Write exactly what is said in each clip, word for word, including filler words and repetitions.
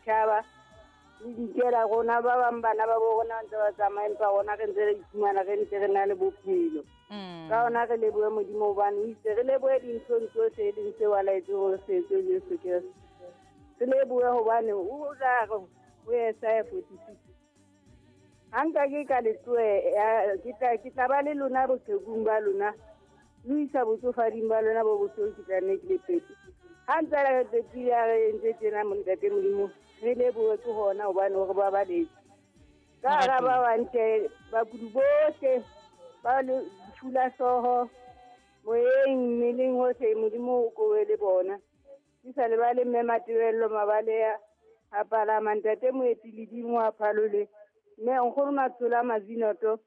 Tjhaba le dikela rona ba bang bana ba bo rona ntse ba tsamaya empa rona re ntse re iphumana re ntse re na le bophelo. Ka hona re lebohe Modimo hobane o itse re lebohe dinthong tsohle e leng seo a laetseng hore se etswe Jesu Kreste. Re lebohe hobane o tla re ho Isaiah forty-six ha nka ke ka le tlohe ke tla ke tla ba le lona boqhekung ba lona le isa botsofading ba lona bo bohloko ke tla nne ke le pete. Ha ntse re pepile a re entse tjena montate Modimo re lebohe ke hona hobane hore ba baletse. Ka hara ba bang bakudi bohle ba le lefu la hlooho moyeng mmeleng hohle Modimo o kowe le bona. Ke sa lebale mme Matebello Mabaleya a palama ntate Moeti Ledimo a Phalole mme nkgono Matshola Mazinoto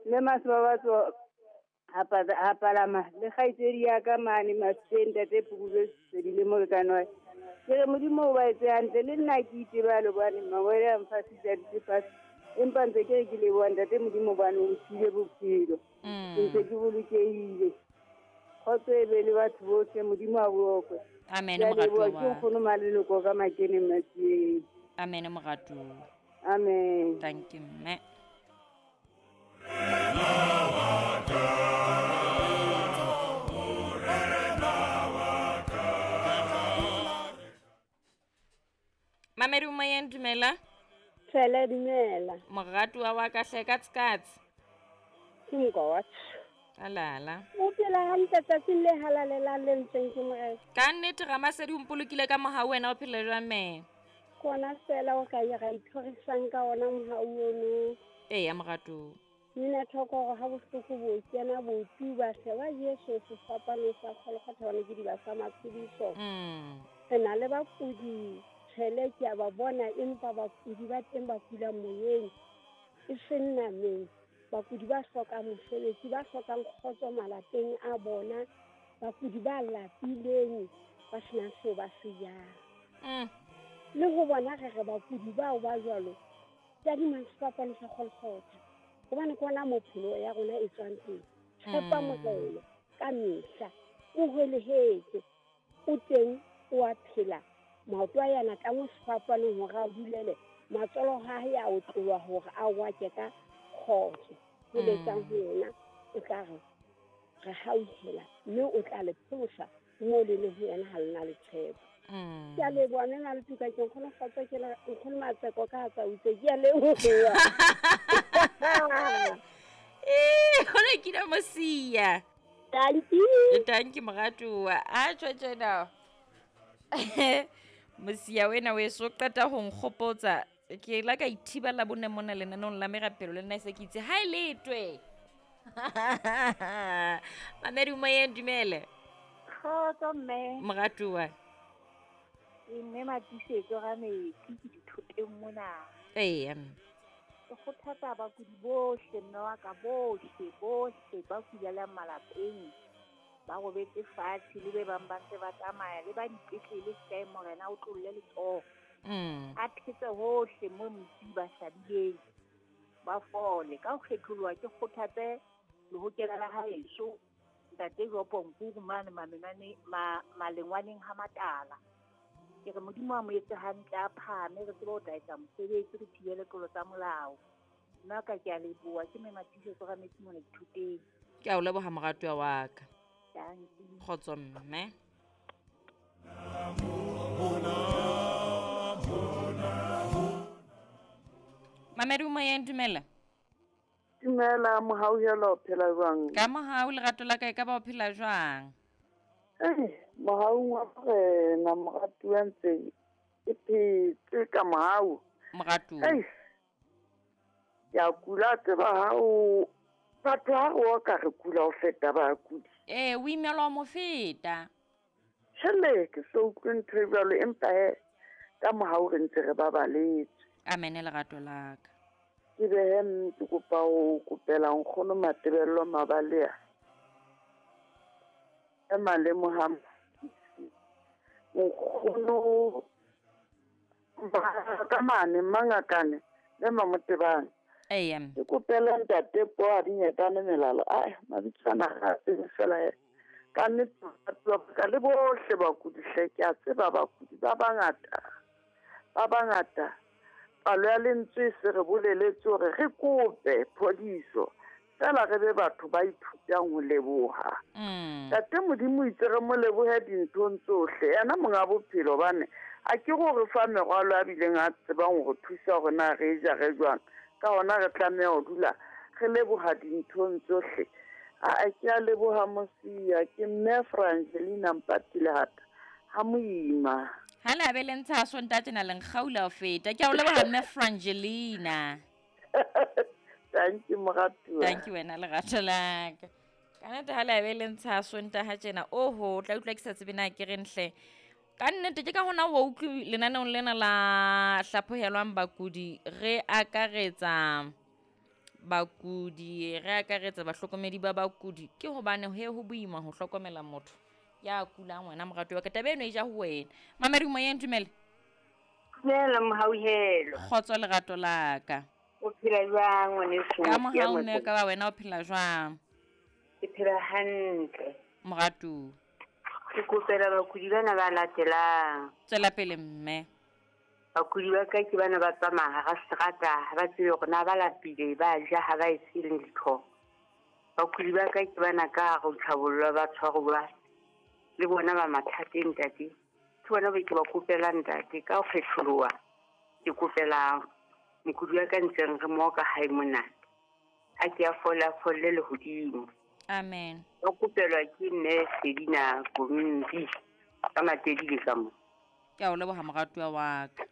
mme Masebabatso a palama le kgaitsedi ya ka mane Mafikeng ntate Phukubje Sedile molekane wa ke re Modimo o ba etse hantle le nna ke itebale hobane mangwele a mfasitse a dutse fatshe empa ntse ke re ke leboha ntate Modimo hobane o mphile bophelo ke ntse ke bolokehile. Kgotso e be le batho bohle Modimo a bokwe. Amen moratuwa. Ke nkgono Maleloko ka Makeneng Matsieng. Amen moratuwa. Amen. Thank you mme. Mamedi moyeng dumela. Tshele dumela. Moratuwa wa ka hle ka tsikatsi. Ke mokwa. Alala. O phela hantle tsatsing le halalelang le ntseng ke Morena. Ka nnete Ramasedi o mpolokile ka mohau wena o phela jwang mme? Kona fela o ka ya ra ithorisang ka ona mohau ono. Eya moratuwa. Nna thoko hore ha bohloko bo kena bo tuba hle wa Jesu sefapano sa Golgotha hobane ke diba sa matshediso. Mm. Re na le bakudi tshele ke a ba bona empa bakudi ba teng ba kula moyeng e seng nameng. Bakudi ba hlokang mosebetsi ba hlokang kgotso malapeng a bona bakudi ba lapileng ba senang seo ba se jang. Mm. Le ho bona re re bakudi bao ba jwalo tadimang sefapano sa Golgotha hobane ke ona mopholo ya rona e tswang teng. Tshepa Morena ka mehla o hwelehetse o teng o a phela maoto a yana ka mo sefapanong hore a dulele matsolo ha hae a otloha hore a wake ka kgotso ho letsang ho yena o tla re re hauhela mme o tla le pholosa moo le leng ho yena ha lena le tshepo. Ke a leboha mme Maletuka ke nkgono kgotso ke nkgono Matseko ka tsa utse ke a leboha. Eh, hona ke na mosia. Thank you. Thank you moratuwa. A tjho tjena. Mosia wena we so qeta ho nkgopotsa ke la ka ithibela bone mona lenanong la merapelo le nna se ke itse ha e letwe. Mamedi moyeng dumele. Kgotso mme. Moratuwa. Mme Matisetso ga metsi ke dithoteng mona. Eya. Ke kgothatsa bakudi bohle mme wa ka bohle bohle ba kulelang malapeng ba robetse fatshe le be bang ba ntse ba tsamaya le ba dipetlele hle Morena o tlolle letsoho. Mm. A thetse hohle mo motsi ba hlabileng ba fole ka ho kgetholoha ke kgothatse lehokela la haeso ntate Jopo Nkuru mane mamenane ma malengwaneng ha matala. Ke re Modimo a mo etse hantle a phahame re tsebe ho tla etsa mosebetsi re thibele tlolo tsa molao. Nna ka ke a leboha ke mme Matisetso ga metsi mona dithoteng. Ke a o leboha moratuwa wa ka. Thank you. Kgotso mme. Mamedi moyeng dumela. Dumela mohauhelo o phela jwang? Ka mohau lerato la ka e ka ba o phela jwang? Eh, mohaung wa Morena moratuwa ntse ke phetse ka mohau. Moratuwa. Eh. Ya kula tseba hao batho ha re oka re kula ho feta bakudi. Eh, o imelwa mo feta. Tjhele ke so utlwe ntho e jwalo empa he ka mohau re ntse re babaletse. Amen lerato la ka. Ke behe ke kopa ho kopela nkgono Matebello Mabalea. E malemo ha nkgono ba ka mane mangakane le Mamotebane. Eya. Ke kopela ntate po a dinyetane melalo. Ai mabitso ana ga tsebe fela he. Ka nnete batho ba ka le bohle bakudi hle ke a tseba bakudi ba bangata. Ba bangata palo ya lentswe se re boleletse hore re kope phodiso, fela re be batho ba ithutang ho leboha. Ntate Modimo itse re mo lebohe dinthong tsohle, yena monga bophelo, hobane a ke gore fa merwalo a bileng a tsebang hore thusa hore na re ja re jwang. Ka hona re tlameha ho dula re leboha dinthong tsohle. A ke a leboha Mosia, ke mme Frangelina Mpati Lehata ha moima. Ha le abe le ntsha Sontaha tjena le nkgaula ho feta. Ke a o leboha mme Frangelina. Thank you moratuwa. Thank you wena lerato la ka. Ka nnete ha le abe le ntsha Sontaha tjena, oho, o tla utlwa ke sa tsebe na ke reng hle. Ka nnete ke ka hona wa utlwi lenaneong lena la hlaphohelwang bakudi re akaretsa bakudi, re akaretsa bahlokomedi ba bakudi, ke hobane he ho boima ho hlokomela motho ya kulang wena moratuwa wa ka. Taba eno e ja ho wena. Mamedi moyeng, dumela. Dumela mohauhelo. Kgotso lerato la ka. O phela jwang ngwaneso? Ka mohau mme ka ba wena o phela jwang? Ke phela hantle. Moratuwa. Ke kopela bakudi bana ba latelang. Tswela pele mme. Bakudi ba ka ke bana ba tsamaya hara seterata, ha ba tsebe hore na ba lapile, ba ja, ha ba etse letho. Bakudi ba ka ke bana ka hare ho tlhabollwa, ba tshwaruwa le bona ba mathateng ntate. Ke bona ba ke ba kopela ntate ka ho kgetholoha. Ke kopela mokudi wa ka ntseng re mo ka hae mona. A ke a fola folle lehodimo. Amen. Ba kopelwa ke mme Selina Kombi ka Matedi le ka mo. Ke a o leboha moratuwa wa ka.